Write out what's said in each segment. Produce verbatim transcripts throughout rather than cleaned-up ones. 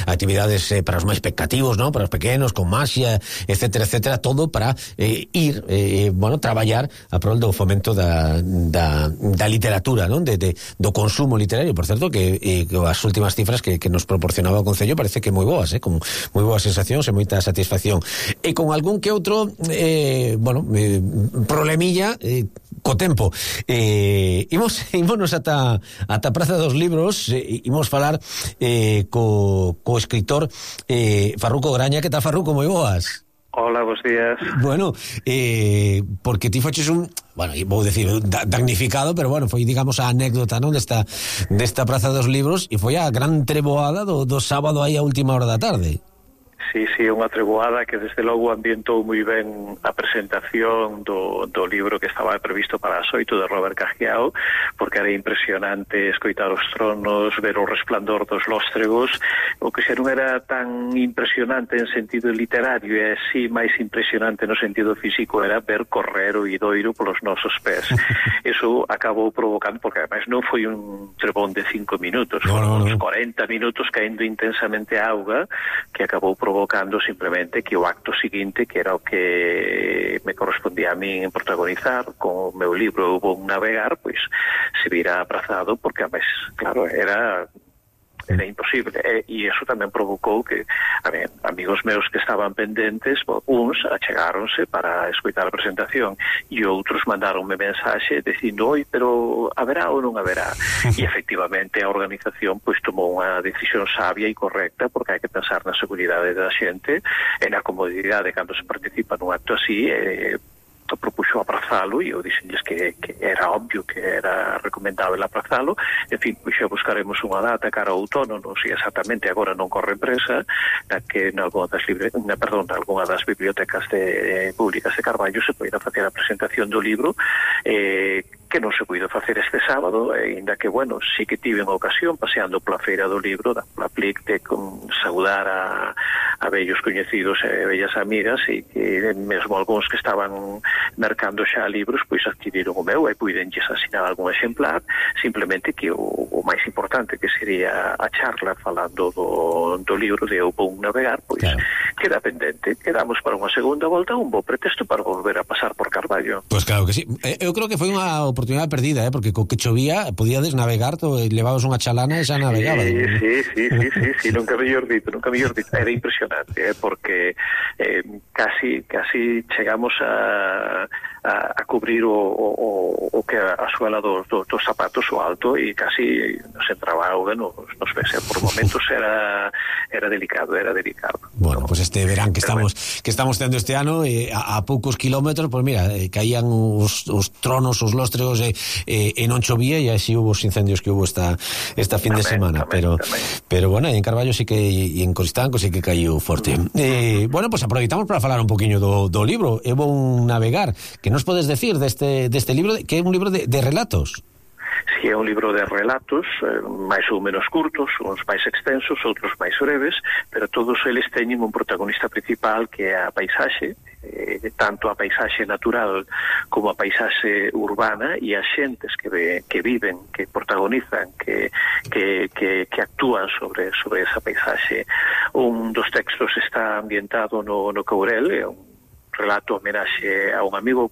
actividades eh, para os máis pecativos, non? Para os pequenos, con maxia, etcétera, etcétera, todo para eh, ir, eh, bueno, traballar a prol do fomento da, da, da literatura, non? De, de, do consumo literario, por certo, que, eh, que as últimas cifras que, que nos proporcionaba o Concello parece que moi boas, eh? Con moi boas sensacións e moita satisfacción. E con algún que outro, eh, bueno, eh, problemilla, eh, co tempo. Eh, imos, ímonos ata, ata Praza dos Libros, eh, imos falar eh, co, co escritor eh, Farruco Graña. Que tal, Farruco? Moi boas. Hola, bons días. Bueno, eh, porque ti foches un, bueno, vou decir, damnificado, pero bueno, foi, digamos, a anécdota, non, desta, desta Praza dos Libros, e foi a gran treboada do, do sábado aí a última hora da tarde. Sí, sí, unha treboada que desde logo ambientou moi ben a presentación do, do libro que estaba previsto para as oito de Robert Cajiao, porque era impresionante escoitar os tronos, ver o resplandor dos lóstregos. O que xa non era tan impresionante en sentido literario e así máis impresionante no sentido físico era ver correr o idoiro polos nosos pés. Eso acabou provocando, porque además non foi un trebón de cinco minutos, no, foron no, no. uns corenta minutos caendo intensamente a auga, que acabou provocando simplemente que o acto seguinte, que era o que me correspondía a min protagonizar con o meu libro Hubo un navegar, pois se vira aprazado, porque a vez, claro, era era imposible, e, e iso tamén provocou que, a ver, amigos meus que estaban pendentes, uns achegáronse para escoitar a presentación e outros mandaronme mensaxe dicindo, oi, pero haberá ou non haberá? E efectivamente a organización pois tomou unha decisión sabia e correcta, porque hai que pensar na seguridade da xente e na comodidade cando se participa nun acto así, e propuxo aprazalo, e eu dixenlles que, que era obvio que era recomendable aprazalo. En fin, pois xa buscaremos unha data cara ao outono, non sei exactamente, agora non corre presa, na que en algunha das, libre, na, perdón, na algunha das bibliotecas de, públicas de Carballo se poida facer a presentación do libro, eh, que non se puido facer este sábado, e ainda que, bueno, sí que tive unha ocasión paseando pola feira do libro, da pola Plic, de con, saudar a, a vellos coñecidos e vellas amigas, e que mesmo algúns que estaban mercando xa libros, pois adquiriron o meu e puidenlles asinar algún exemplar, simplemente que o, o máis importante, que sería a charla falando do, do libro de Hubo un navegar, pois claro, queda pendente. Quedamos para unha segunda volta, un bo pretexto para volver a pasar por Carballo. Pois claro que sí. Eu creo que foi unha oportunidade perdida, eh? Porque co que chovía podíades navegar, to, levabas unha chalana e xa navegaba. Sí, sí, sí, sí, sí, sí, nunca mellor dito, nunca mellor dito. Era impresionante, eh? Porque eh, casi, casi chegamos a A, a cubrir o, o, o que a suela dos, dos, dos zapatos, o alto, e casi nos entraba auga nos, nos pese. Por momentos era era delicado, era delicado. Bueno, ¿no? Pues este verán que Pero estamos bueno, que estamos tendo este ano, eh, a, a poucos kilómetros, pues mira, eh, caían os, os tronos, os lóstregos, e eh, eh, non chovía, e así hubo os incendios que hubo esta esta fin tamén, de semana, tamén, pero tamén. pero bueno, en Carballo sí que, e en Coristanco sí que caiu forte. Eh, bueno, pues aproveitamos para falar un poquinho do, do libro Hubo un navegar, que nos podes decir deste, deste libro, que é un libro de, de relatos? Si é un libro de relatos, eh, máis ou menos curtos, uns máis extensos, outros máis breves, pero todos eles teñen un protagonista principal, que é a paisaxe, eh, tanto a paisaxe natural como a paisaxe urbana, e as xentes que, ve, que viven, que protagonizan, que, que, que, que actúan sobre, sobre esa paisaxe. Un dos textos está ambientado no, no Courel, é un relato homenaxe a un amigo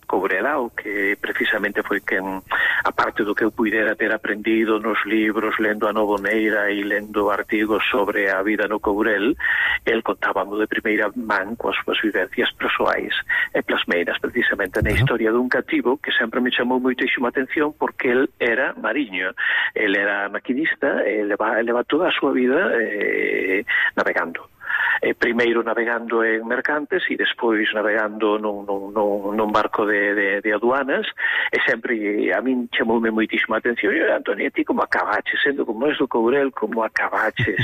Courelao, que precisamente foi quen, aparte do que eu puidera ter aprendido nos libros, lendo a Novoneira e lendo artigos sobre a vida no Courel, el contábamo de primeira man coas súas vivencias persoais e plasmeiras precisamente na historia dun cativo que sempre me chamou moitísima atención, porque el era mariño, el era maquinista, e leva, leva toda a súa vida eh, navegando. Eh, primeiro navegando en mercantes e despois navegando nun, nun, nun, nun barco de, de, de aduanas, e sempre a min chamoume moitísima atención. E, Antonio, ti como acabaches, sendo como és do Courel, como acabaches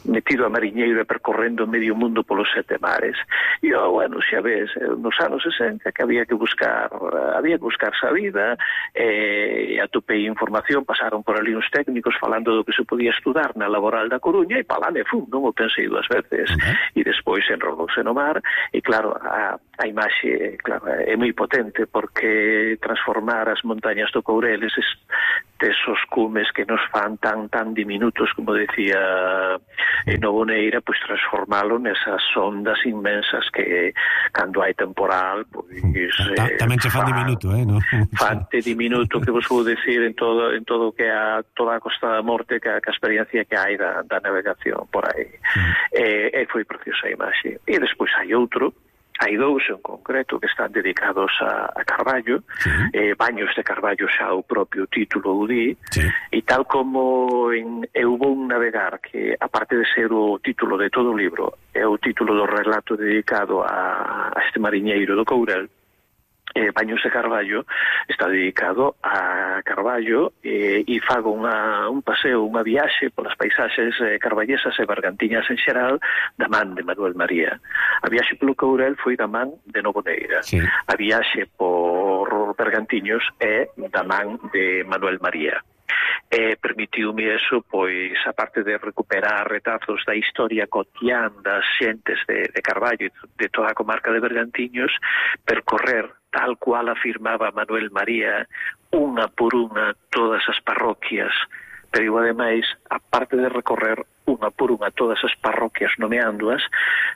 metido a mariñeiro e percorrendo medio mundo polos sete mares? E, oh, bueno, xa ves, nos anos sesenta que había que buscar había que buscarse a vida, e eh, atopei información, pasaron por ali uns técnicos falando do que se podía estudar na Laboral da Coruña, e palán e fum, non o pensei dúas veces. Uh-huh. E despois enrolouse no mar, e claro, a, a imaxe, claro, é moi potente, porque transformar as montañas do Courel, eses tesos cumes que nos fan tan tan diminutos, como decía eh, Noboneira, pois transformalo nesas ondas inmensas que cando hai temporal, pois eh, tamén che fan fa, diminuto, eh, no? Fante diminuto que vos vou decir en todo en todo que a toda a Costa da Morte, que a, que a experiencia que hai da, da navegación por aí. Mm. E, e foi preciosa a imaxe. E despois hai outro, hai dous en concreto que están dedicados a, a Carballo, sí. eh, Baños de Carballo xa o propio título o di, sí. E tal como en Eu vou navegar, que aparte de ser o título de todo o libro, é o título do relato dedicado a, a este mariñeiro do Courel, eh, Baños de Carballo está dedicado a Carballo eh, e fago unha, un paseo, unha viaxe polas paisaxes eh, carballesas e bergantiñas en xeral da man de Manuel María. A viaxe polo Courel foi da man de Noboneira. Sí. A viaxe por Bergantiños é da man de Manuel María. Eh, permitiume eso, pois, aparte de recuperar retazos da historia cotián das xentes de, de Carballo e de toda a comarca de Bergantiños, percorrer, tal cual afirmaba Manuel María, unha por unha todas as parroquias, pero eu, ademais, aparte de recorrer unha por unha todas as parroquias nomeándoas,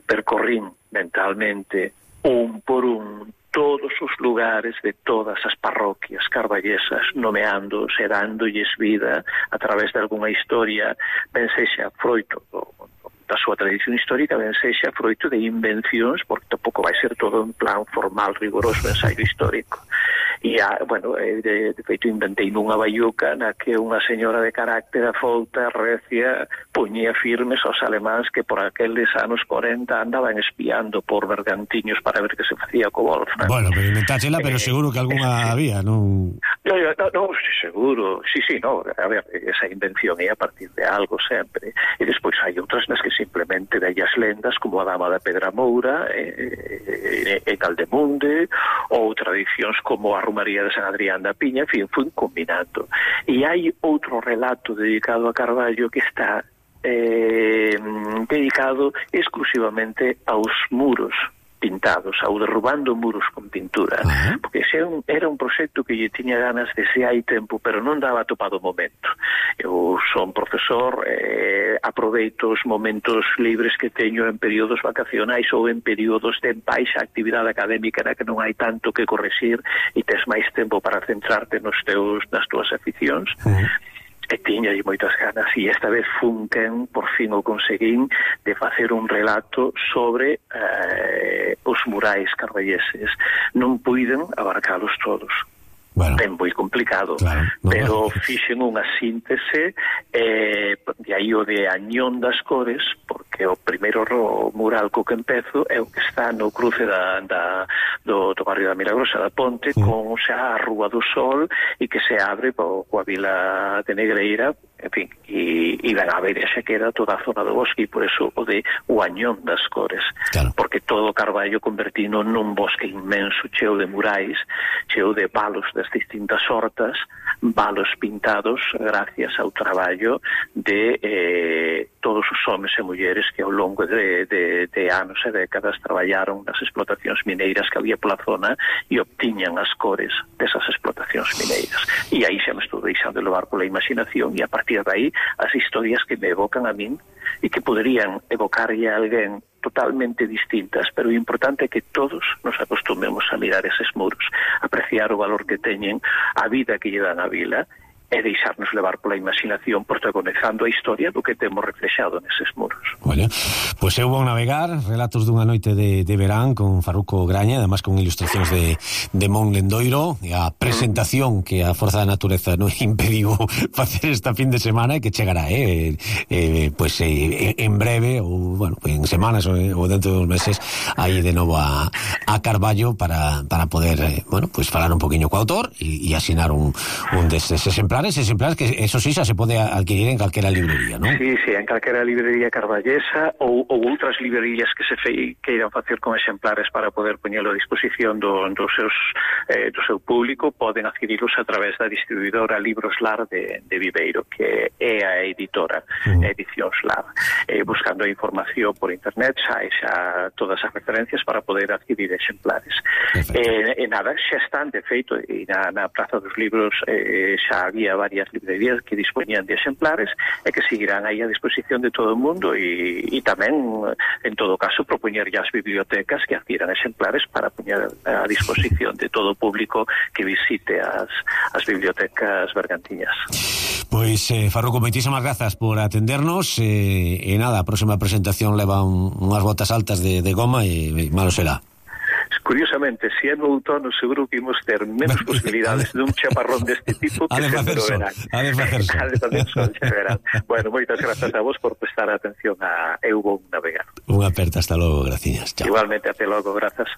percorrín mentalmente un por un todos os lugares de todas as parroquias carballesas, nomeándoos e dándolles vida a través de algunha historia, ben sexa froito da súa tradición histórica, ben sexa froito de invencións, porque tampouco vai ser todo en plan formal, rigoroso, ensaio histórico. E, a, bueno, de, de feito, inventei nunha baiuca na que unha señora de carácter afouta, recia, poñía firmes aos alemáns que por aqueles anos corenta andaban espiando por Bergantiños para ver que se facía co Wolfram. Bueno, pero inventáchela, pero eh, seguro que algunha eh, había, non? No, no, no, seguro, sí, sí, no, a ver, esa invención é a partir de algo sempre, e despois hai outras nas que simplemente vellas lendas, como a Dama da Pedra Moura, e, e, e Caldemunde, ou tradicións como a Romaría de San Adrián da Piña, en fin, fui combinando. E hai outro relato dedicado a Carballo que está eh, dedicado exclusivamente aos muros pintados, ao derrubando muros con pintura, uh-huh. Porque ese era un proxecto que lle tiña ganas desde hai tempo, pero non daba topado o momento. Eu son profesor, eh, aproveito os momentos libres que teño en períodos vacacionais ou en períodos de baixa actividade académica na que non hai tanto que correxir e tes máis tempo para centrarte nos teus, nas túas aficións. Uh-huh. E tiña moitas ganas, e esta vez funquen, por fin o conseguín, de facer un relato sobre eh, os murais carballeses. Non puiden abarcalos todos. Bueno, ben moi complicado, claro, no, pero no. Fixen unha síntese, eh, de aí o de Añón das Cores, porque o primeiro mural co que empezo é o que está no cruce da, da, do, do barrio da Milagrosa da Ponte, mm. con xa a Rúa do Sol, e que se abre po, coa vila de Negreira, en fin, e, e van a ver xa queda toda a zona do bosque, e por eso o de o Añón das Cores, claro. Porque todo o Carballo convertino nun bosque inmenso, cheo de murais, cheo de palos das distintas hortas, valos pintados gracias ao traballo de eh, todos os homes e mulleres que ao longo de, de, de anos e décadas traballaron nas explotacións mineiras que había pola zona e obtiñan as cores desas explotacións mineiras. E aí xa me estou deixando de levar pola imaginación, e a partir de aí as historias que me evocan a min e que poderían evocarlle a alguén totalmente distintas, pero o importante é que todos nos acostumemos a mirar eses muros, apreciar o valor que teñen, a vida que lle dan a vila, e deixarnos levar pola imaginación, protagonizando a historia do que temos reflexado neses muros. Bueno, pois eu vou navegar relatos dunha noite de, de verán con Farruco Graña, además con ilustracións de, de Mon Lendoiro, e a presentación mm. que a Forza da Natureza non impediu facer esta fin de semana, e que chegará, eh, eh, pois eh, en breve, ou, bueno, en semanas ou, ou dentro dos meses, aí de novo a, a Carballo para, para poder, eh, bueno, pois falar un poquinho co autor e, e asinar un, un destes exemplares, exemplares que, eso sí, xa se pode adquirir en calquera librería, non? Sí, sí, en calquera librería carballesa ou, ou outras librerías que se fe, que irán facer con exemplares para poder poñelo a disposición do, do, seus, eh, do seu público, poden adquirilos a través da distribuidora Libros Lar de, de Viveiro, que é a editora, uh-huh. Edicións Lar. Eh, buscando a información por internet, xa, xa todas as referencias para poder adquirir exemplares. E eh, eh, nada, xa están, de feito, e na, na Praza dos Libros eh, xa había había varias librerías que dispoñían de exemplares e que seguirán aí a disposición de todo o mundo e, e tamén, en todo caso, propoñer as bibliotecas que adquieran exemplares para poñer a disposición de todo o público que visite as, as bibliotecas bergantiñas. Pois, eh, Farruco, moitísimas grazas por atendernos e, e nada, a próxima presentación leva un, unhas botas altas de, de goma e, e malo será. Curiosamente, se é no outono, seguro que imos ter menos posibilidades dun chaparrón deste tipo que sempre no verán. A de facerso. A de facerso, xa verán. Bueno, moitas grazas a vos por prestar atención a Eu Vou Navegar. Unha aperta, hasta logo, graciñas. Chao. Igualmente, até logo, grazas.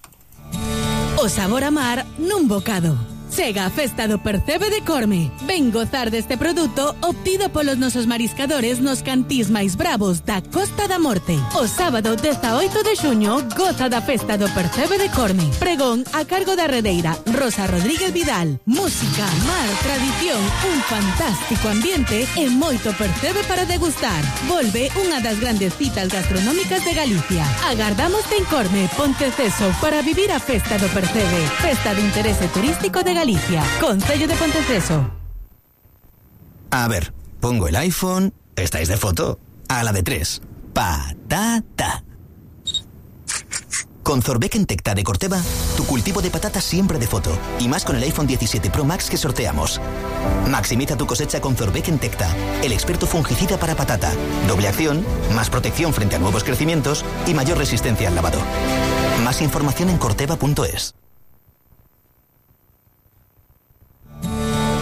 O sabor a mar nun bocado. Chega a festa do Percebe de Corme. Ven gozar deste produto obtido polos nosos mariscadores nos cantís máis bravos da Costa da Morte. O sábado dezaoito de xuño goza da festa do Percebe de Corme. Pregón a cargo da redeira Rosa Rodríguez Vidal. Música, mar, tradición, un fantástico ambiente e moito percebe para degustar. Volve unha das grandes citas gastronómicas de Galicia. Agardámoste en Corme, Ponteceso, para vivir a festa do Percebe. Festa de interese turístico de Galicia. Galicia, Concello de Ponteceso. A ver, pongo el iPhone. ¿Estáis de foto? A la de tres. Patata. Con Zorbeck Tecta de Corteva, tu cultivo de patatas siempre de foto. Y más con el iPhone diecisiete Pro Max que sorteamos. Maximiza tu cosecha con Zorbeck Tecta, el experto fungicida para patata. Doble acción, más protección frente a nuevos crecimientos y mayor resistencia al lavado. Más información en corteva punto es.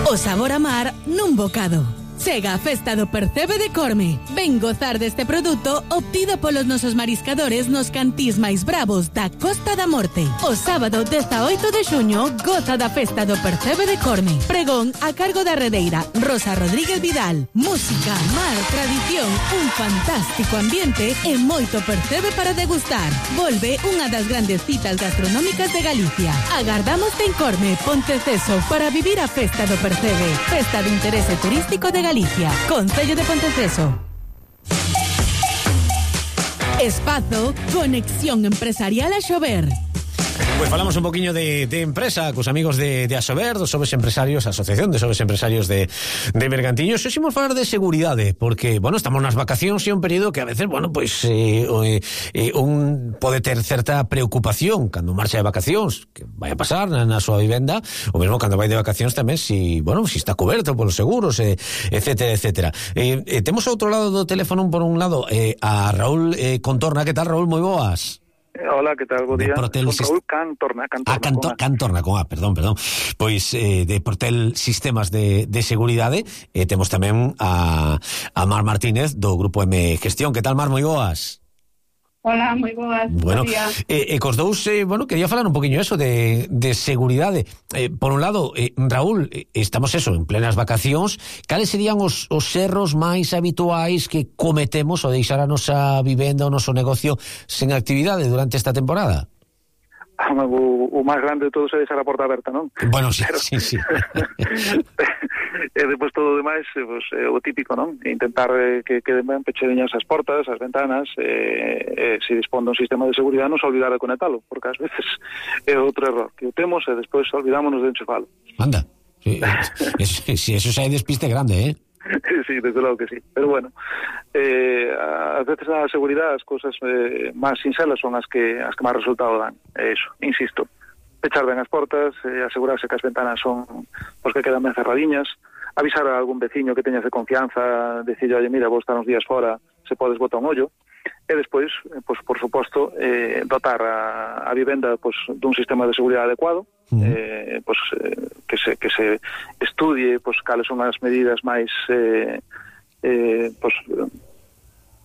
O sabor a mar nun bocado. Chega a festa do Percebe de Corme. Ven gozar deste produto obtido polos nosos mariscadores nos cantís máis bravos da Costa da Morte. O sábado dezaoito de xuño goza da festa do Percebe de Corme. Pregón a cargo da redeira Rosa Rodríguez Vidal. Música, mar, tradición, un fantástico ambiente e moito percebe para degustar. Volve unha das grandes citas gastronómicas de Galicia. Agardámoste en Corme, Ponteceso, para vivir a festa do Percebe. Festa de interese turístico de Galicia. Galicia, Concello de Ponteceso. Espazo, conexión empresarial a Xover. Pues falamos un poquinho de, de empresa cos amigos de, de Asober, dos Sobes Empresarios, Asociación de Sobes Empresarios de, de Bergantiños. Ximos falar de seguridade, porque, bueno, estamos nas vacacións e un período que a veces, bueno, pois eh, eh, un pode ter certa preocupación cando marcha de vacacións, que vai a pasar na, na súa vivenda, ou mesmo cando vai de vacacións tamén, si, bueno, si está coberto polos seguros, eh, etcétera, etcétera. Eh, eh, temos ao outro lado do teléfono, por un lado, eh, a Raúl eh, Contorna. Que tal, Raúl? Moi boas. Hola, que tal? Bo día. Portel Son Raúl Cantorna, Cantorna, ah, Canto, con A. Cantorna, con A, perdón, perdón. Pois eh, de Portel Sistemas de, de Seguridade, eh, temos tamén a, a Mar Martínez do Grupo M Gestión. Que tal, Mar? Moi boas. Hola, moi boas. Bueno, e eh, eh, cos dous, eh, bueno, quería falar un poquinho eso de, de seguridade. Eh, por un lado, eh, Raúl, eh, estamos eso, en plenas vacacións. Cales serían os, os erros máis habituais que cometemos ao deixar a nosa vivenda, o noso negocio sen actividade durante esta temporada? O, o máis grande de todos é deixar a porta aberta, non? Bueno, sí, Pero... sí, sí. E depois todo o demais, pues, é o típico, non? Intentar eh, que queden ben pechadiñas as portas, as ventanas, eh, eh, se dispón dun sistema de seguridade, non se olvidar de conectalo, porque ás veces é outro error, que o temos e despois olvidámonos de enchufalo. Anda, si sí, sí, eso xa é despiste grande, eh? Sí, desde logo que sí. Pero bueno, eh, a veces a seguridade, as cousas eh, máis sinxelas son as que as que máis resultado dan. É iso, insisto, pechar ben as portas, eh, asegurarse que as ventanas son os que quedan ben cerradiñas, avisar a algún veciño que teñas de confianza, decirle, oye, mira, vos estar uns días fora, se podes botar un ollo, e despois, pues, por suposto, eh, dotar a, a vivenda pues, dun sistema de seguridade adecuado, uh-huh. eh, pues, eh, que, se, que se estudie pues, cales son as medidas máis eh, eh, pues,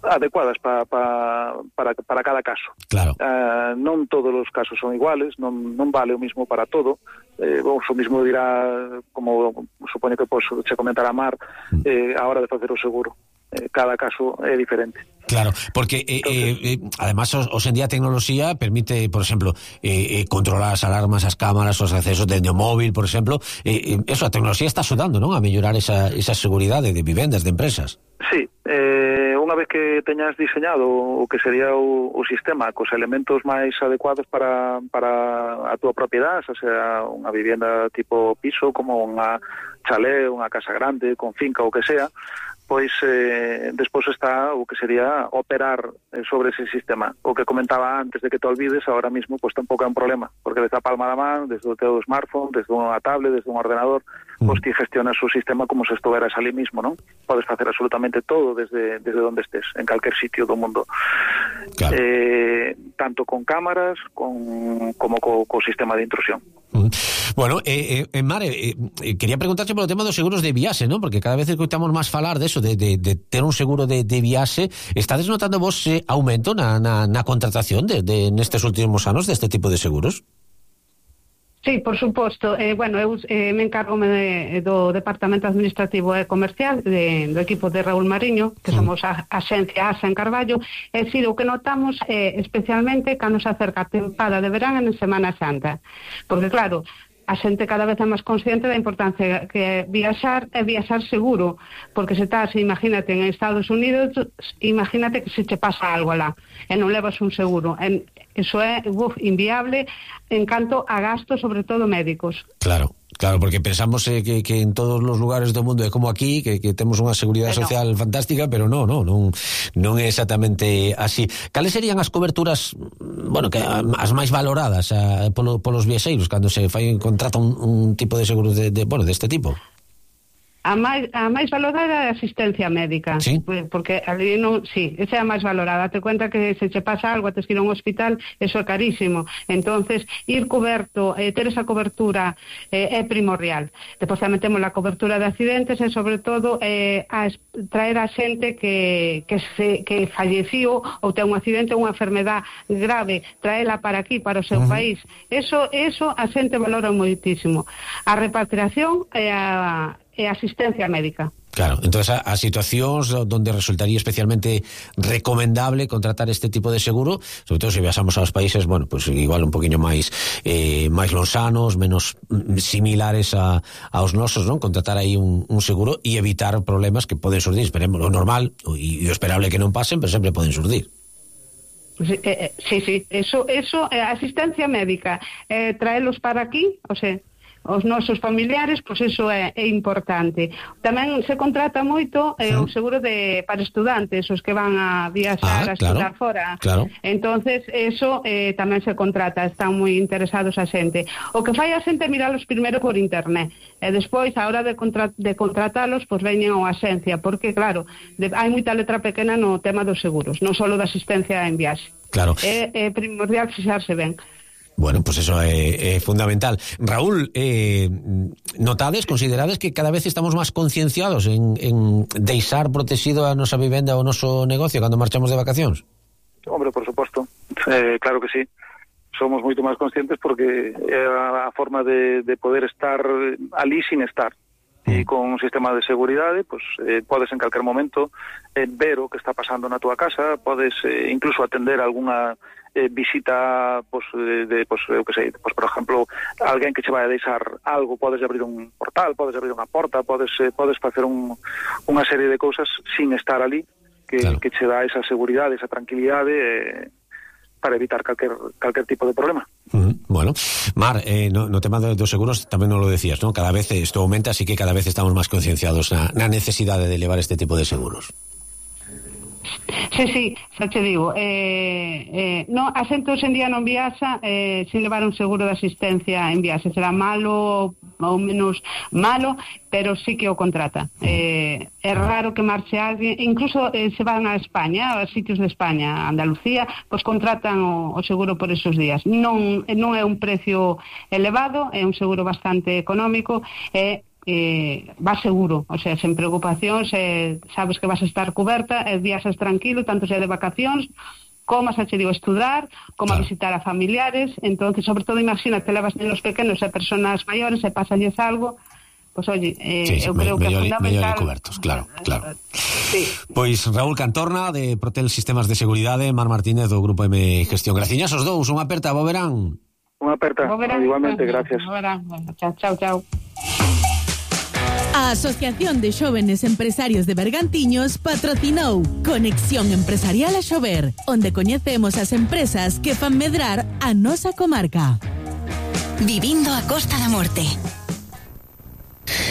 adecuadas pa, pa, para, para cada caso. Claro. Uh, non todos os casos son iguales, non, non vale o mismo para todo. Eh, vos o mismo dirá, como supoño que pues, che comentará Mar, eh, a hora de facer o seguro. Eh, cada caso é diferente. Claro, porque eh, Entonces, eh, eh, además os en día a tecnoloxía permite, por exemplo, eh, eh, controlar as alarmas, as cámaras, os accesos dende o móvil, por exemplo, eh, eh, eso, a tecnoloxía está axudando, non? A mellorar esa, esa seguridade de vivendas, de empresas. Sí, eh, unha vez que teñas diseñado o que sería o, o sistema cos elementos máis adecuados para, para a túa propiedade, xa sea unha vivienda tipo piso, como unha chalé, unha casa grande, con finca ou que sea, pois eh, despois está o que sería operar eh, sobre ese sistema. O que comentaba antes de que te olvides, ahora mismo pues tampouco é un problema, porque desde a palma da man, desde o teu smartphone, desde unha tablet, desde un ordenador, mm. pois ti gestionas o sistema como se estuveras ali mismo, non? Podes facer absolutamente todo desde desde onde estés, en calquer sitio do mundo. Claro. Eh, tanto con cámaras con, como co, co sistema de intrusión. Mm. Bueno, eh, eh, Mare, eh, quería preguntarche polo tema dos seguros de viaxe, non? Porque cada vez escoitamos máis falar de eso, de, de, de ter un seguro de, de viaxe. Estades notando vos eh, aumento na, na, na contratación de, de nestes últimos anos deste tipo de seguros? Sí, por suposto. Eh, bueno, eu eh, me encargo de, do Departamento Administrativo e Comercial de, do equipo de Raúl Mariño, que mm. somos a, a xencia ASA en Carballo. E si, o que notamos eh, especialmente cando se acerca a tempada de verán en Semana Santa. Porque, claro, a xente cada vez é máis consciente da importancia que é viaxar e viaxar seguro, porque se estás, imagínate, en Estados Unidos, imagínate que se te pasa algo alá e non levas un seguro. En, eso é uf, inviable en canto a gastos, sobre todo médicos. Claro. Claro, porque pensamos eh, que, que en todos os lugares do mundo é como aquí, que, que temos unha seguridade pero social fantástica, pero non, non, non, non é exactamente así. Cales serían as coberturas, bueno, que as máis valoradas a, polo, polos viaxeiros cando se fai contrata un, un tipo de seguro de, de, bueno, deste tipo? A máis, a máis valorada é a asistencia médica. Sí? Porque ali non, sí, esa é a máis valorada. Te cuenta que se che pasa algo, tes que ir a un hospital, eso é carísimo. Entonces, ir coberto, eh, ter esa cobertura eh, é primordial. Depois tamén temos a cobertura de accidentes e, sobre todo, eh, a traer a xente que, que, se, que falleció ou ten un accidente ou unha enfermedad grave, traela para aquí, para o seu uh-huh. país. Eso, eso a xente valora moitísimo. A repatriación e a e asistencia médica. Claro, entonces a, a situacións onde resultaría especialmente recomendable contratar este tipo de seguro, sobre todo se viaxamos aos países, bueno, pues igual un poquinho máis eh, máis lonxanos, menos similares a, aos nosos, non? Contratar aí un, un seguro e evitar problemas que poden surdir, esperemos, o normal e o esperable que non pasen, pero sempre poden surdir. Sí, eh, sí, sí, eso, eso eh, asistencia médica, eh, traelos para aquí, o sea, os nosos familiares, pois eso é, é importante. Tamén se contrata moito eh, sí. o seguro de para estudantes, os que van a viaxar ah, a estudar claro, fora. Claro. Entonces, eso eh, tamén se contrata, están moi interesados a xente. O que fai a xente é miralos primeiro por internet, e despois, a hora de, contra de contratalos, pois veñen a asencia, porque, claro, de, hai moita letra pequena no tema dos seguros, non só da asistencia en viaxe. Claro. É, é primordial fixarse ben. Bueno, pues eso é, é fundamental. Raúl, eh, notades, considerades que cada vez estamos máis concienciados en, en deixar protegido a nosa vivenda ou o noso negocio cando marchamos de vacacións? Hombre, por suposto. Eh, claro que sí. Somos moito máis conscientes porque é a forma de, de poder estar ali sin estar. E con un sistema de seguridade, pues, eh, podes en calquer momento eh, ver o que está pasando na túa casa, podes eh, incluso atender algunha eh, visita, pues, de, de, pues, eu que sei, pues, por exemplo, alguén que che vai a deixar algo, podes abrir un portal, podes abrir unha porta, podes, eh, podes facer un, unha serie de cousas sin estar ali, que, claro. que che dá esa seguridade, esa tranquilidade, eh, para evitar calquer, calquer tipo de problema. Uh-huh. Bueno, Mar, eh, no, no tema dos seguros tamén non lo decías, ¿no? Cada vez isto aumenta, así que cada vez estamos máis concienciados na, na necesidade de levar este tipo de seguros. Sí, sí, xa te digo, eh, eh, no, a xente hoxe en día non viaxa eh, sin levar un seguro de asistencia en viaxe, será malo ou menos malo, pero sí que o contrata. Eh, é raro que marche alguén, incluso eh, se van a España, a sitios de España, a Andalucía, pois contratan o, o seguro por esos días. Non, non é un precio elevado, é un seguro bastante económico, e Eh, vas seguro, o sea, sen preocupacións, eh, sabes que vas a estar coberta, e viaxas tranquilo, tanto sea de vacacións, como a, che digo, estudar, como claro. a visitar a familiares. Entonces, sobre todo, imagínate, levas nenos pequenos e personas maiores e pásalles algo, pois, pues, oye, eh, sí, sí, eu creo me, que é fundamental. Mellor cobertos, claro, claro. Sí. Pois Raúl Cantorna, de Protel Sistemas de Seguridade, Mar Martínez, do Grupo M Gestión. Graciñas os dous, unha aperta, bo verán. Unha aperta, igualmente, gracias. Bo verán, chao, chao, chao. A Asociación de Xóvenes Empresarios de Bergantiños patrocinou Conexión Empresarial a Xover, onde coñecemos as empresas que fan medrar a nosa comarca. Vivindo a Costa da Morte.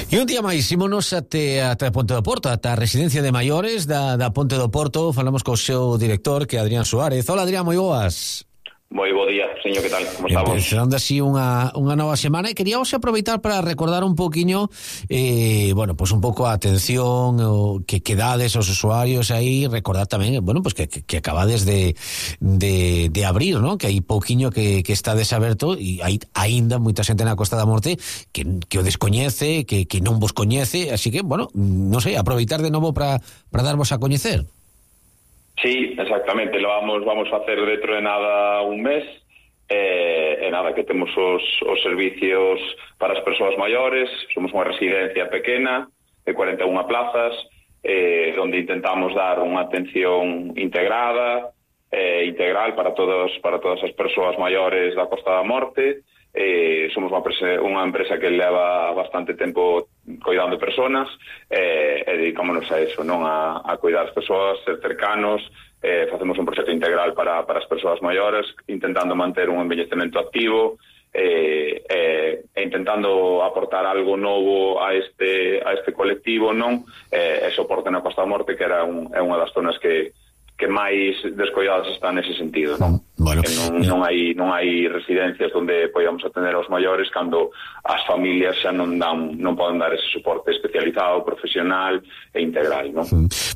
E un día máis, ímonos até, até a Ponte do Porto, até a residencia de maiores da, da Ponte do Porto. Falamos co seu director, que é Adrián Suárez. Hola, Adrián, moi boas. Moi bo día, señor, que tal? Como estamos? Empezando así unha, unha nova semana, e queríamos aproveitar para recordar un poquinho eh, bueno, pues un pouco a atención o que quedades aos usuarios aí, recordar tamén, bueno, pues que, que, que acabades de, de, de abrir, ¿no? Que hai pouquiño que, que está desaberto, e hai aínda moita xente na Costa da Morte que, que o descoñece, que, que non vos coñece, así que, bueno, non sei, aproveitar de novo para para darvos a coñecer. Sí, exactamente, lo vamos vamos a hacer dentro de nada un mes, e eh, nada, que temos os, os servicios para as persoas maiores. Somos unha residencia pequena de cuarenta e unha plazas, eh, onde intentamos dar unha atención integrada, eh, integral para todos para todas as persoas maiores da Costa da Morte. Eh, somos unha, prese, unha empresa que leva bastante tempo cuidando de personas, eh, e dedicámonos a eso, non a, a cuidar as persoas, ser cercanos. Eh, facemos un proxecto integral para, para as persoas maiores, intentando manter un envellecemento activo, eh, eh, e intentando aportar algo novo a este a este colectivo, non? Eh, e soporte na Costa da Morte, que era un, é unha das zonas que que máis descoidadas están nese sentido, non? Bueno, que non, non hai non hai residencias onde podamos atender aos maiores cando as familias xa non dan non poden dar ese soporte especializado, profesional e integral, non?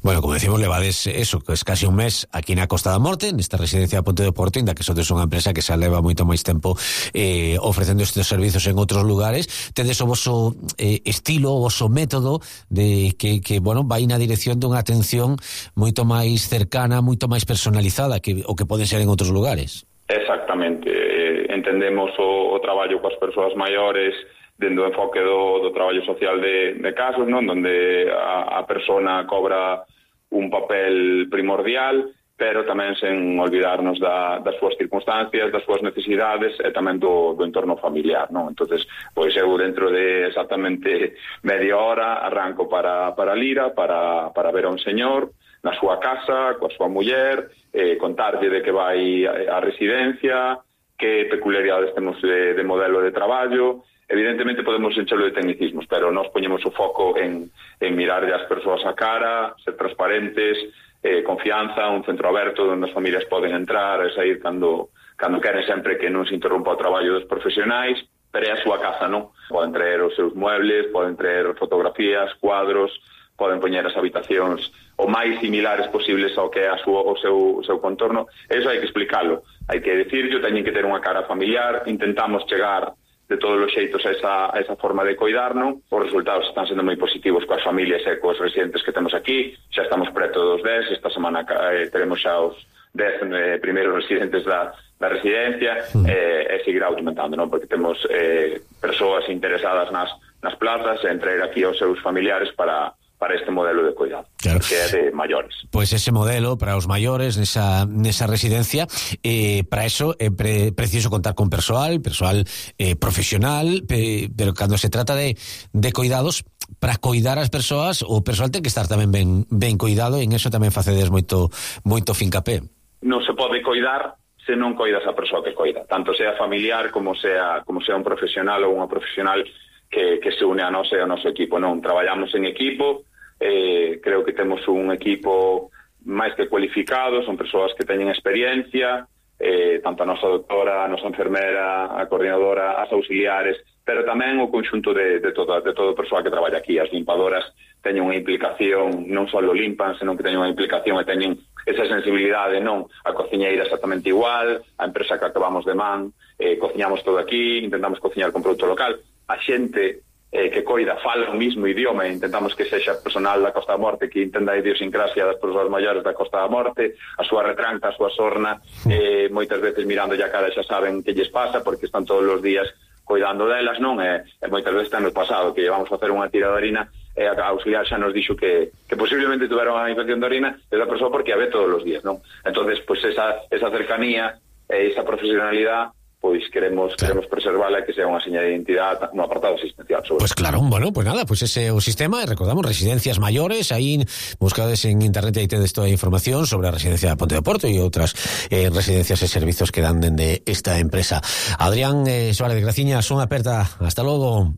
Bueno, como decimos, levades eso, que es casi un mes aquí na Costa da Morte, nesta residencia de Ponte do Porto, inda que sodes unha empresa que xa leva moito máis tempo eh, ofrecendo estes servizos en outros lugares. Tedes o voso eh, estilo, o voso método de que, que bueno, vai na dirección dunha atención moito máis cercana, moito máis personalizada que o que pode ser en outros lugares. Exactamente, eh, entendemos o, o traballo coas persoas maiores dentro do enfoque do, do traballo social de, de casos, non? Donde a, a persona cobra un papel primordial, pero tamén sen olvidarnos da, das súas circunstancias, das súas necesidades e tamén do, do entorno familiar, non? Entonces, pois eu dentro de exactamente media hora arranco para, para Lira, para, para ver a un señor na súa casa, coa súa muller, eh, contarlle de que vai a residencia, que peculiaridades temos de, de modelo de traballo. Evidentemente podemos enchelo de tecnicismos, pero nós poñemos o foco en, en mirarlle as persoas a cara, ser transparentes, eh, confianza, un centro aberto onde as familias poden entrar e sair cando, cando queren, sempre que non se interrompa o traballo dos profesionais, pero é a súa casa, non? Poden traer os seus muebles, poden traer fotografías, cuadros, poden poñer as habitacións o máis similares posibles ao que é a súa, o, seu, o seu contorno. Eso hai que explicalo, hai que decirlo, teñen que ter unha cara familiar. Intentamos chegar de todos os xeitos a esa, a esa forma de coidar, non? Os resultados están sendo moi positivos coas familias e coas residentes que temos aquí. Xa estamos preto dos dez, esta semana eh, teremos xa os dez eh, primeiros residentes da, da residencia, mm. eh, e seguirá aumentando, non? Porque temos eh, persoas interesadas nas, nas plazas en traer aquí aos seus familiares para para este modelo de cuidado, claro, que é de maiores. Pois pues ese modelo para os maiores nesa, nesa residencia, eh, para eso é pre, preciso contar con persoal, persoal eh, profesional, pe, pero cando se trata de, de cuidados, para coidar as persoas, o persoal ten que estar tamén ben, ben cuidado, e en eso tamén facedes moito, moito fincapé. Non se pode coidar se non coidas a persoa que coida, tanto sea familiar como sea, como sea un profesional ou unha profesional que, que se une a nós e ao noso equipo. Non traballamos en equipo. Eh, creo que temos un equipo máis que cualificado, son persoas que teñen experiencia, eh, tanto a nosa doctora, a nosa enfermera, a coordinadora, as auxiliares, pero tamén o conxunto de, de, todo, de todo o persoal que traballa aquí. As limpadoras teñen unha implicación, non só limpan, senón que teñen unha implicación e teñen esa sensibilidade, non? A cociñeira exactamente igual, a empresa que acabamos de man, eh, cociñamos todo aquí, intentamos cociñar con produto local. A xente eh, que coida fala o mismo idioma, e intentamos que sexa personal da Costa da Morte que entenda a idiosincrasia das persoas maiores da Costa da Morte, a súa retranca, a súa sorna, eh, moitas veces mirando a cara xa saben que lles pasa, porque están todos os días cuidando delas, non? E, e moitas veces ten no pasado que llevamos a facer unha tira de orina e a auxiliar xa nos dixo que, que posiblemente tuveron unha infección de orina esa persoa porque a ve todos os días, non? Entonces, pois pues esa, esa cercanía e esa profesionalidade pois queremos claro. queremos preservala e que sea unha seña de identidade no apartado asistencial. Sobre pues claro, bueno, pues nada, pues ese é o sistema, e recordamos, residencias maiores, aí buscades en internet e aí tedes toda a información sobre a residencia de Ponte de Porto e outras eh, residencias e servizos que dan dende esta empresa. Adrián eh, Suárez de Graciña, son aperta, hasta logo.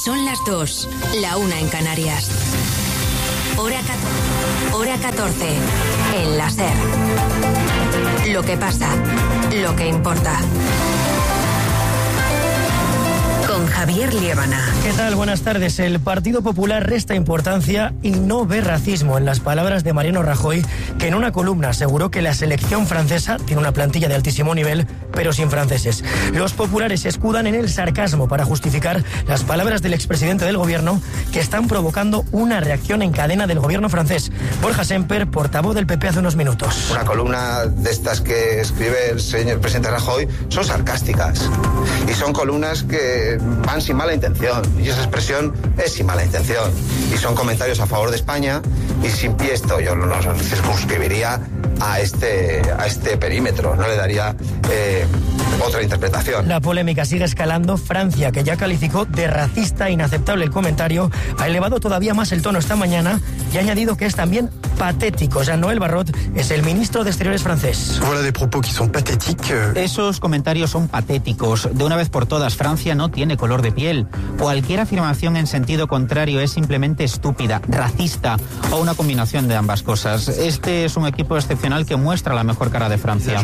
Son las dos, la una en Canarias. Hora catorce, hora catorce, en la SER. Lo que pasa, lo que importa. Con Javier Liébana. ¿Qué tal? Buenas tardes. El Partido Popular resta importancia y no ve racismo, en las palabras de Mariano Rajoy, que en una columna aseguró que la selección francesa tiene una plantilla de altísimo nivel, pero sin franceses. Los populares se escudan en el sarcasmo para justificar las palabras del expresidente del gobierno, que están provocando una reacción en cadena del gobierno francés. Borja Semper, portavoz del P P hace unos minutos. Una columna de estas que escribe el señor presidente Rajoy son sarcásticas y son columnas que van sin mala intención, y esa expresión es sin mala intención, y son comentarios a favor de España, y sin pie esto yo no los circunscribiría a este, a este perímetro, no le daría eh, otra interpretación. La polémica sigue escalando. Francia, que ya calificó de racista e inaceptable el comentario, ha elevado todavía más el tono esta mañana y ha añadido que es también patético. Jean-Noël Barrot es el ministro de Exteriores francés. Voilà des propos qui sont pathétiques. Esos comentarios son patéticos. De una vez por todas, Francia no tiene color de piel. Cualquier afirmación en sentido contrario es simplemente estúpida, racista o una combinación de ambas cosas. Este es un equipo excepcional que muestra la mejor cara de Francia.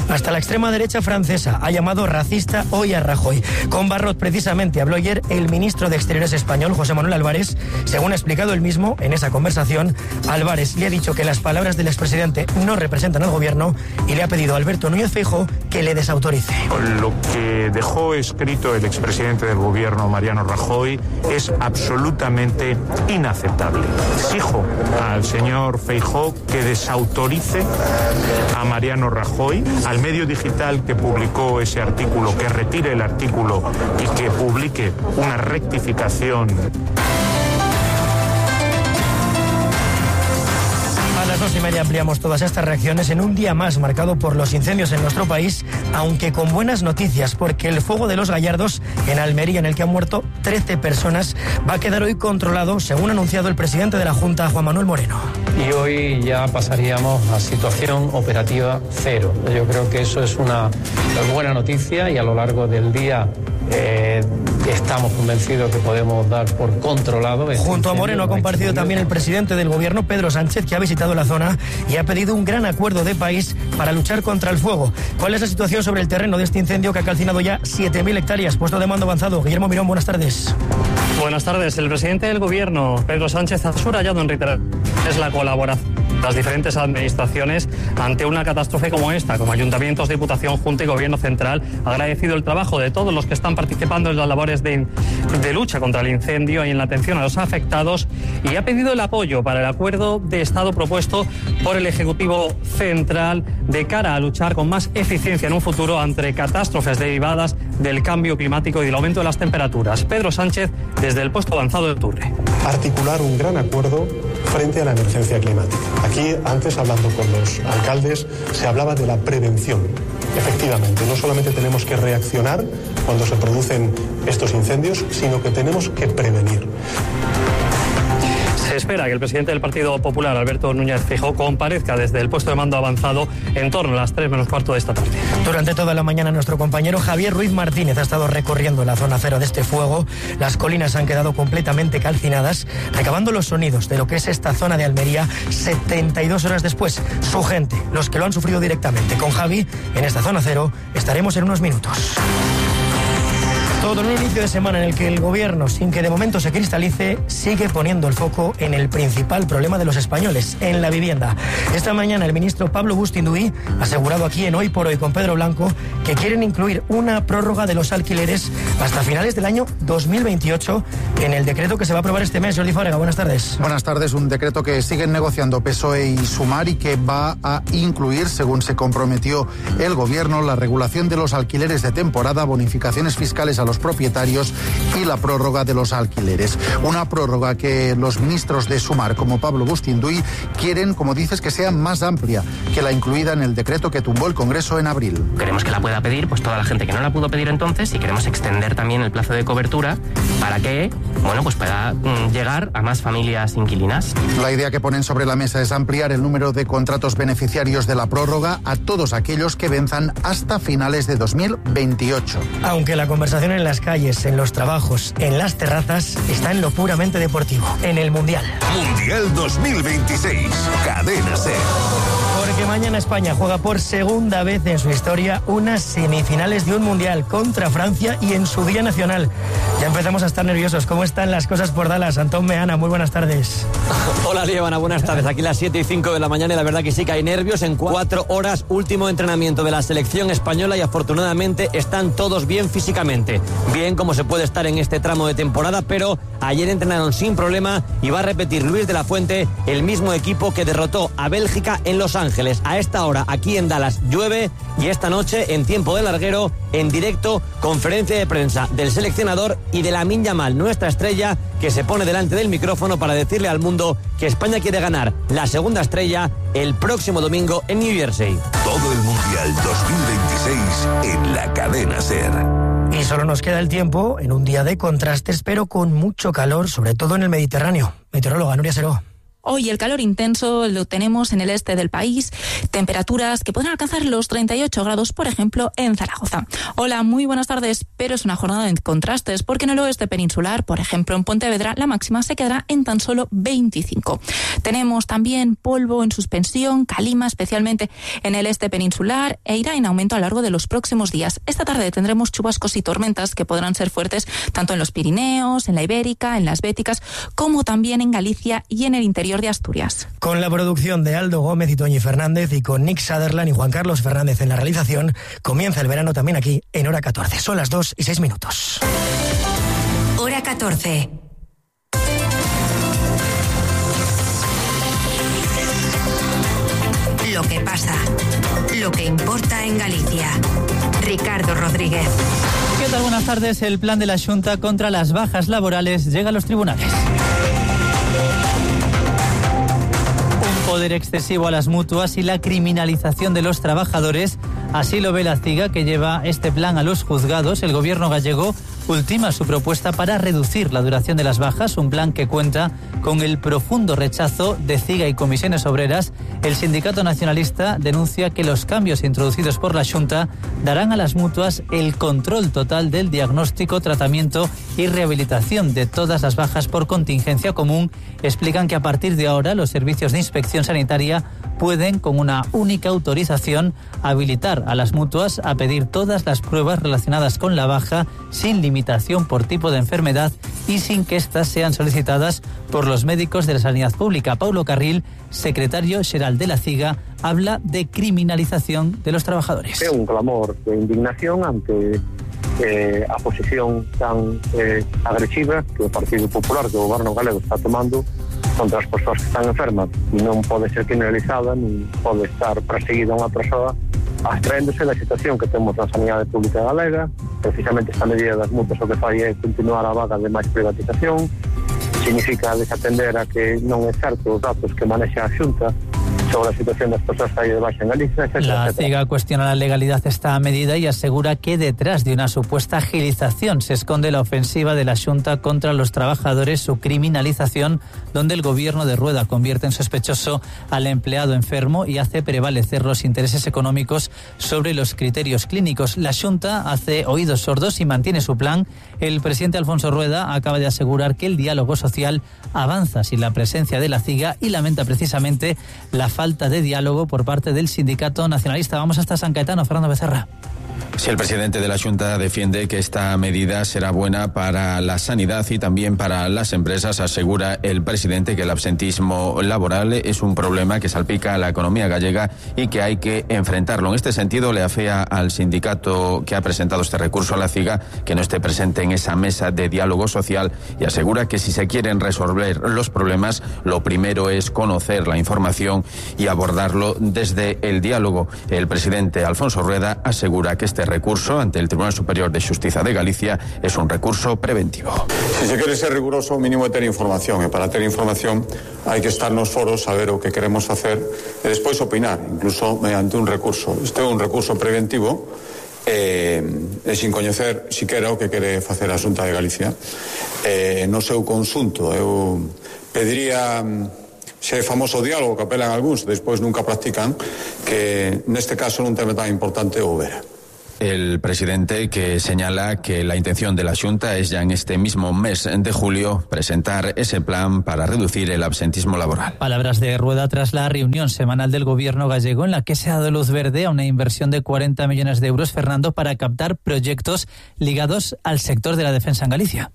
Hasta la extrema derecha francesa ha llamado racista hoy a Rajoy. Con Barrot precisamente habló ayer el ministro de Exteriores español, José Manuel Álvarez. Según ha explicado él mismo en esa conversación, Álvarez le ha dicho que las palabras del expresidente no representan al gobierno y le ha pedido a Alberto Núñez Feijóo que le desautorice. Lo que dejó escrito el expresidente del gobierno, Mariano Rajoy, es absolutamente inaceptable. Exijo al señor Feijóo que desautorice a Mariano Rajoy, al medio digital que publicó ese artículo, que retire el artículo y que publique una rectificación. A las dos y media ampliamos todas estas reacciones en un día más marcado por los incendios en nuestro país, aunque con buenas noticias, porque el fuego de los Gallardos en Almería, en el que han muerto trece personas, va a quedar hoy controlado, según ha anunciado el presidente de la Junta, Juan Manuel Moreno. Y hoy ya pasaríamos a situación operativa cero. Yo creo que eso es una buena noticia y a lo largo del día eh, estamos convencidos que podemos dar por controlado. Este Junto a Moreno ha comparecido también el presidente del gobierno, Pedro Sánchez, que ha visitado la zona y ha pedido un gran acuerdo de país para luchar contra el fuego. ¿Cuál es la situación sobre el terreno de este incendio que ha calcinado ya siete mil hectáreas? Puesto de mando avanzado. Guillermo Mirón, buenas tardes. Buenas tardes. El presidente del gobierno, Pedro Sánchez, ha subrayado en reiteradas es la colaboración de las diferentes administraciones ante una catástrofe como esta, como ayuntamientos, Diputación, Junta y Gobierno Central. Ha agradecido el trabajo de todos los que están participando en las labores de, de lucha contra el incendio y en la atención a los afectados, y ha pedido el apoyo para el acuerdo de Estado propuesto por el Ejecutivo Central de cara a luchar con más eficiencia en un futuro ante catástrofes derivadas del cambio climático y del aumento de las temperaturas. Pedro Sánchez, desde el puesto avanzado de Turre. Articular un gran acuerdo frente a la emergencia climática. Aquí, antes, hablando con los alcaldes, se hablaba de la prevención. Efectivamente, no solamente tenemos que reaccionar cuando se producen estos incendios, sino que tenemos que prevenir. Se espera que el presidente del Partido Popular, Alberto Núñez Feijóo, comparezca desde el puesto de mando avanzado en torno a las tres menos cuarto de esta tarde. Durante toda la mañana nuestro compañero Javier Ruiz Martínez ha estado recorriendo la zona cero de este fuego. Las colinas han quedado completamente calcinadas, recabando los sonidos de lo que es esta zona de Almería setenta y dos horas después. Su gente, los que lo han sufrido directamente. Con Javi, en esta zona cero, estaremos en unos minutos. Todo en un inicio de semana en el que el gobierno, sin que de momento se cristalice, sigue poniendo el foco en el principal problema de los españoles, en la vivienda. Esta mañana el ministro Pablo Bustinduy ha asegurado aquí en Hoy por Hoy con Pedro Blanco que quieren incluir una prórroga de los alquileres hasta finales del año dos mil veintiocho en el decreto que se va a aprobar este mes. Jordi Fábrega, buenas tardes. Buenas tardes. Un decreto que siguen negociando P S O E y Sumar y que va a incluir, según se comprometió el gobierno, la regulación de los alquileres de temporada, bonificaciones fiscales a los los propietarios y la prórroga de los alquileres. Una prórroga que los ministros de Sumar, como Pablo Bustinduy, quieren, como dices, que sea más amplia que la incluida en el decreto que tumbó el Congreso en abril. Queremos que la pueda pedir pues toda la gente que no la pudo pedir entonces, y queremos extender también el plazo de cobertura para que, bueno, pues pueda mm, llegar a más familias inquilinas. La idea que ponen sobre la mesa es ampliar el número de contratos beneficiarios de la prórroga a todos aquellos que venzan hasta finales de dos mil veintiocho. Aunque la conversación en las calles, en los trabajos, en las terrazas, está en lo puramente deportivo, en el Mundial. Mundial dos mil veintiséis, Cadena SER. Porque mañana España juega por segunda vez en su historia unas semifinales de un Mundial contra Francia y en su Día Nacional. Ya empezamos a estar nerviosos. ¿Cómo están las cosas por Dallas? Antón Meana, muy buenas tardes. Hola, Líbana, buenas tardes. Aquí las siete y cinco de la mañana y la verdad que sí que hay nervios. En cuatro horas, último entrenamiento de la selección española y afortunadamente están todos bien físicamente. Bien como se puede estar en este tramo de temporada, pero ayer entrenaron sin problema y va a repetir Luis de la Fuente el mismo equipo que derrotó a Bélgica en Los Ángeles. A esta hora, aquí en Dallas, llueve y esta noche, en tiempo de larguero, en directo, conferencia de prensa del seleccionador y de Lamine Yamal, nuestra estrella, que se pone delante del micrófono para decirle al mundo que España quiere ganar la segunda estrella el próximo domingo en New Jersey. Todo el Mundial dos mil veintiséis en la Cadena SER. Y solo nos queda el tiempo en un día de contrastes, pero con mucho calor, sobre todo en el Mediterráneo. Meteoróloga Nuria Seró. Hoy el calor intenso lo tenemos en el este del país, temperaturas que pueden alcanzar los treinta y ocho grados, por ejemplo, en Zaragoza. Hola, muy buenas tardes, pero es una jornada de contrastes, porque en el oeste peninsular, por ejemplo, en Pontevedra, la máxima se quedará en tan solo veinticinco. Tenemos también polvo en suspensión, calima, especialmente en el este peninsular, e irá en aumento a lo largo de los próximos días. Esta tarde tendremos chubascos y tormentas que podrán ser fuertes tanto en los Pirineos, en la Ibérica, en las Béticas, como también en Galicia y en el interior de Asturias. Con la producción de Aldo Gómez y Toñi Fernández y con Nick Sutherland y Juan Carlos Fernández en la realización, comienza el verano también aquí en Hora catorce. Son las dos y seis minutos. Hora catorce. Lo que pasa, lo que importa en Galicia. Ricardo Rodríguez. ¿Qué tal? Buenas tardes. El plan de la Xunta contra las bajas laborales llega a los tribunales. Poder excesivo a las mutuas y la criminalización de los trabajadores. Así lo ve la CIGA, que lleva este plan a los juzgados. El gobierno gallego ultima su propuesta para reducir la duración de las bajas, un plan que cuenta con el profundo rechazo de CIGA y comisiones obreras. El sindicato nacionalista denuncia que los cambios introducidos por la Xunta darán a las mutuas el control total del diagnóstico, tratamiento y rehabilitación de todas las bajas por contingencia común. Explican que a partir de ahora los servicios de inspección sanitaria pueden, con una única autorización, habilitar a las mutuas a pedir todas las pruebas relacionadas con la baja sin limitación por tipo de enfermedad y sin que éstas sean solicitadas por los médicos de la sanidad pública. Paulo Carril, secretario xeral de la CIGA, habla de criminalización de los trabajadores. É un clamor de indignación ante eh, a posición tan eh, agresiva que o Partido Popular, que o Goberno galego está tomando contra as persoas que están enfermas, e non pode ser criminalizada, non pode estar perseguida unha persoa abstraéndose da situación que temos na sanidade pública galega. Precisamente esta medida das multas o que fai é continuar a vaga de máis privatización, significa desatender a que non é certo os datos que manexa a Xunta sobre la situación de las personas que hay de baixa en Galicia, etcétera. La CIGA cuestiona la legalidad de esta medida y asegura que detrás de una supuesta agilización se esconde la ofensiva de la Xunta contra los trabajadores, su criminalización, donde el gobierno de Rueda convierte en sospechoso al empleado enfermo y hace prevalecer los intereses económicos sobre los criterios clínicos. La Xunta hace oídos sordos y mantiene su plan. El presidente Alfonso Rueda acaba de asegurar que el diálogo social avanza sin la presencia de la CIGA y lamenta precisamente la falta de diálogo por parte del sindicato nacionalista. Vamos hasta San Caetano, Fernando Becerra. Sí, el presidente de la Xunta defiende que esta medida será buena para la sanidad y también para las empresas. Asegura el presidente que el absentismo laboral es un problema que salpica a la economía gallega y que hay que enfrentarlo. En este sentido, le afea al sindicato que ha presentado este recurso a la CIGA que no esté presente en esa mesa de diálogo social y asegura que si se quieren resolver los problemas, lo primero es conocer la información y abordarlo desde el diálogo. El presidente Alfonso Rueda asegura que este recurso ante el Tribunal Superior de Xustiza de Galicia es un recurso preventivo. Si se quere ser riguroso, o mínimo é ter información, e para ter información hai que estar nos foros, saber o que queremos facer e despois opinar, incluso mediante un recurso. Este é un recurso preventivo e, e sin coñecer siquera o que quere facer a Xunta de Galicia. E, no seu conxunto, eu pediría, se é famoso diálogo que apelan algúns, despois nunca practican, que neste caso nun tema tan importante houbera. El presidente que señala que la intención de la Xunta es ya en este mismo mes de julio presentar ese plan para reducir el absentismo laboral. Palabras de Rueda tras la reunión semanal del gobierno gallego en la que se ha dado luz verde a una inversión de cuarenta millones de euros, Fernando, para captar proyectos ligados al sector de la defensa en Galicia.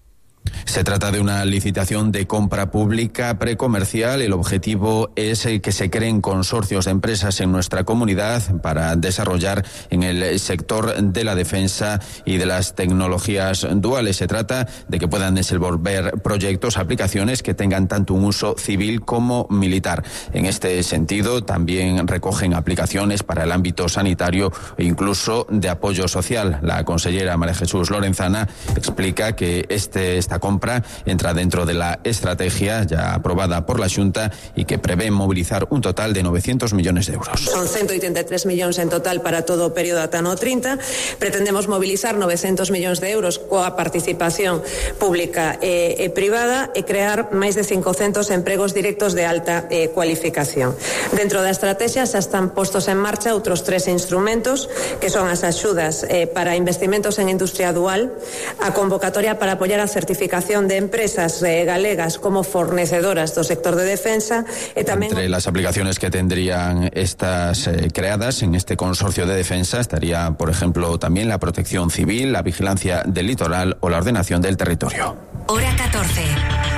Se trata de una licitación de compra pública precomercial. El objetivo es que se creen consorcios de empresas en nuestra comunidad para desarrollar en el sector de la defensa y de las tecnologías duales. Se trata de que puedan desenvolver proyectos, aplicaciones que tengan tanto un uso civil como militar. En este sentido, también recogen aplicaciones para el ámbito sanitario e incluso de apoyo social. La consellera María Jesús Lorenzana explica que este Esta compra entra dentro de la estrategia ya aprobada por la Xunta y que prevé movilizar un total de novecientos millones de euros. Son ciento ochenta y tres millóns en total para todo o período ata no trinta. Pretendemos movilizar novecientos millóns de euros coa participación pública e, e privada e crear máis de cincocentos empregos directos de alta eh, cualificación. Dentro da estrategia xa están postos en marcha outros tres instrumentos que son as axudas eh, para investimentos en industria dual, a convocatoria para apoiar a certificación de empresas eh, galegas como fornecedoras do sector de defensa e tamén... Entre las aplicaciones que tendrían estas eh, creadas en este consorcio de defensa estaría, por ejemplo, también la protección civil, la vigilancia del litoral o la ordenación del territorio. Hora catorce,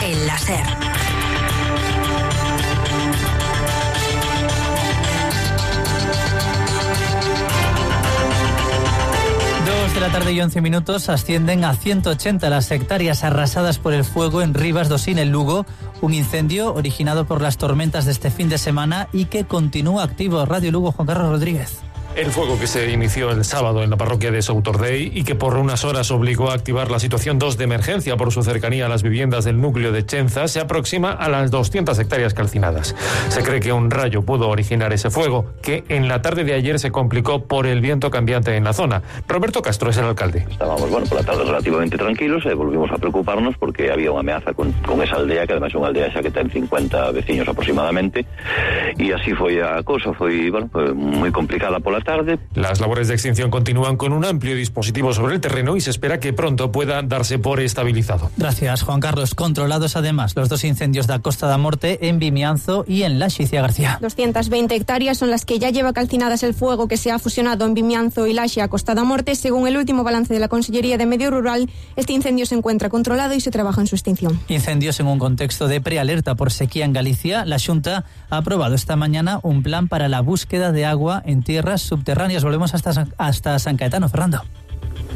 en la SER. De la tarde y once minutos ascienden a ciento ochenta las hectáreas arrasadas por el fuego en Rivas do Sil, en Lugo, un incendio originado por las tormentas de este fin de semana y que continúa activo. Radio Lugo, Juan Carlos Rodríguez. El fuego que se inició el sábado en la parroquia de Soutordei y que por unas horas obligó a activar la situación dos de emergencia por su cercanía a las viviendas del núcleo de Chenza se aproxima a las doscientas hectáreas calcinadas. Se cree que un rayo pudo originar ese fuego, que en la tarde de ayer se complicó por el viento cambiante en la zona. Roberto Castro es el alcalde. Estábamos, bueno, por la tarde relativamente tranquilos e volvimos a preocuparnos porque había unha ameaza con, con esa aldea, que además é unha aldea xa que ten cincuenta veciños aproximadamente, e así foi a cousa, foi, bueno, foi moi complicada pola tarde. Las labores de extinción continúan con un amplio dispositivo sobre el terreno y se espera que pronto pueda darse por estabilizado. Gracias, Juan Carlos. Controlados además los dos incendios de Costa da Morte en Vimianzo y en Laxe, García. doscientas veinte hectáreas son las que ya lleva calcinadas el fuego que se ha fusionado en Vimianzo y Laxe a Costa da Morte. Según el último balance de la Consellería de Medio Rural, este incendio se encuentra controlado y se trabaja en su extinción. Incendios en un contexto de prealerta por sequía en Galicia. La Xunta ha aprobado esta mañana un plan para la búsqueda de agua en tierras subterráneas. Volvemos hasta, hasta San Caetano, Fernando.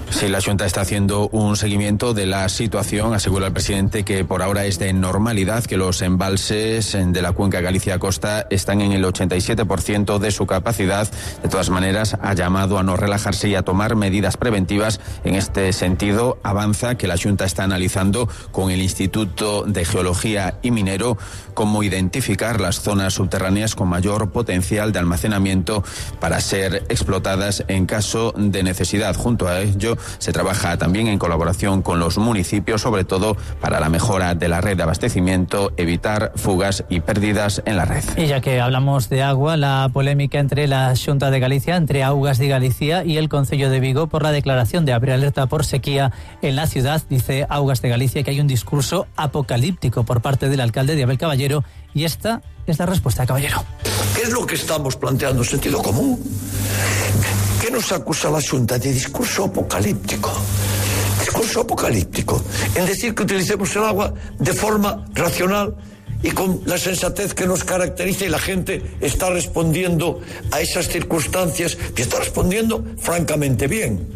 Sí, la Xunta está haciendo un seguimiento de la situación. Asegura el presidente que por ahora es de normalidad, que los embalses de la cuenca Galicia-Costa están en el ochenta y siete por ciento de su capacidad. De todas maneras, ha llamado a no relajarse y a tomar medidas preventivas. En este sentido, avanza que la Xunta está analizando con el Instituto de Geología y Minero cómo identificar las zonas subterráneas con mayor potencial de almacenamiento para ser explotadas en caso de necesidad. Junto a ello, se trabaja también en colaboración con los municipios, sobre todo para la mejora de la red de abastecimiento, evitar fugas y pérdidas en la red. Y ya que hablamos de agua, la polémica entre la Xunta de Galicia, entre Augas de Galicia y el Concello de Vigo por la declaración de prealerta por sequía en la ciudad. Dice Augas de Galicia que hay un discurso apocalíptico por parte del alcalde de Abel Caballero, y esta es la respuesta de Caballero. ¿Qué es lo que estamos planteando? ¿Sentido común? ¿Qué nos acusa la Xunta? De discurso apocalíptico. Discurso apocalíptico. En decir que utilicemos el agua de forma racional y con la sensatez que nos caracteriza, y la gente está respondiendo a esas circunstancias, y está respondiendo francamente bien.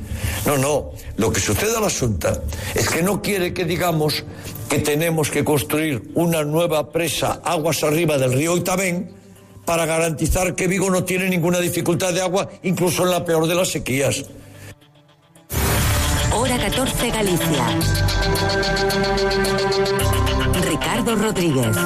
No, no, lo que sucede a la Xunta es que no quiere que digamos que tenemos que construir una nueva presa aguas arriba del río Oitabén para garantizar que Vigo no tiene ninguna dificultad de agua, incluso en la peor de las sequías. Hora catorce Galicia. Ricardo Rodríguez.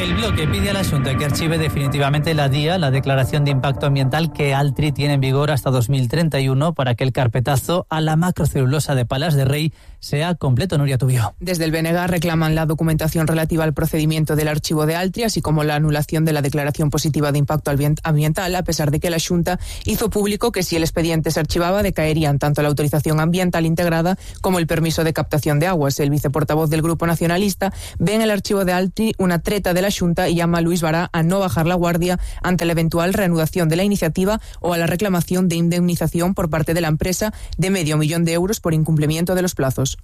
El bloque pide a la Xunta que archive definitivamente la D I A, la Declaración de Impacto Ambiental que Altri tiene en vigor hasta dos mil treinta y uno, para que el carpetazo a la macrocelulosa de Palas de Rey sea completo. Nuria Tubio. Desde el B N G reclaman la documentación relativa al procedimiento del archivo de Altri, así como la anulación de la declaración positiva de impacto ambiental, a pesar de que la Xunta hizo público que si el expediente se archivaba decaerían tanto la autorización ambiental integrada como el permiso de captación de aguas. El viceportavoz del Grupo Nacionalista ve en el archivo de Altri una treta de la Xunta y llama a Luis Bará a no bajar la guardia ante la eventual reanudación de la iniciativa o a la reclamación de indemnización por parte de la empresa de medio millón de euros por incumplimiento de los plazos.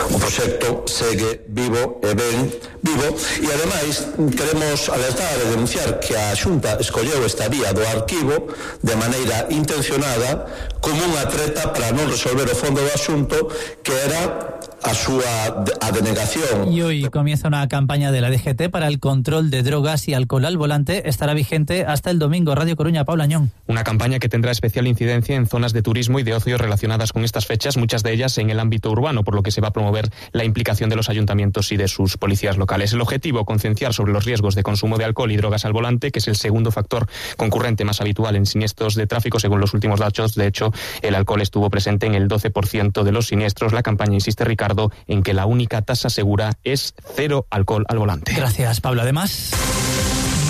O proxecto segue vivo e ben vivo e ademais queremos alertar e denunciar que a Xunta escolleu esta vía do arquivo de maneira intencionada como unha treta para non resolver o fondo do asunto, que era a súa a denegación. Y hoy comienza una campaña de la D G T para el control de drogas y alcohol al volante. Estará vigente hasta el domingo. Radio Coruña, Paula Añón. Una campaña que tendrá especial incidencia en zonas de turismo y de ocio relacionadas con estas fechas, muchas de ellas en el ámbito urbano, por lo que se va a promover la implicación de los ayuntamientos y de sus policías locales. El objetivo, concienciar sobre los riesgos de consumo de alcohol y drogas al volante, que es el segundo factor concurrente más habitual en siniestros de tráfico, según los últimos datos. De hecho, el alcohol estuvo presente en el doce por ciento de los siniestros. La campaña insiste, Ricardo, en que la única tasa segura es cero alcohol al volante. Gracias, Pablo. Además,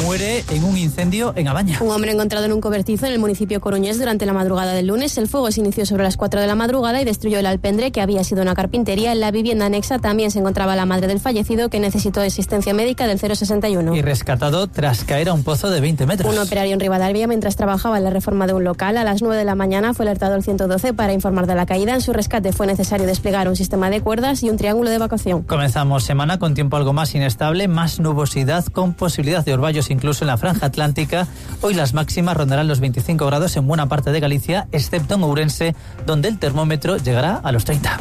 muere en un incendio en Abaña. Un hombre encontrado en un cobertizo en el municipio coruñés durante la madrugada del lunes. El fuego se inició sobre las cuatro de la madrugada y destruyó el alpendre, que había sido una carpintería. En la vivienda anexa también se encontraba la madre del fallecido, que necesitó asistencia médica del cero sesenta y uno. Y rescatado tras caer a un pozo de veinte metros. Un operario en Rivadavia, mientras trabajaba en la reforma de un local, a las nueve de la mañana fue alertado al ciento doce para informar de la caída. En su rescate fue necesario desplegar un sistema de cuerdas y un triángulo de evacuación. Comenzamos semana con tiempo algo más inestable, más nubosidad, con posibilidad de orvallos incluso en la franja atlántica. Hoy las máximas rondarán los veinticinco grados en buena parte de Galicia, excepto en Ourense, donde el termómetro llegará a los treinta.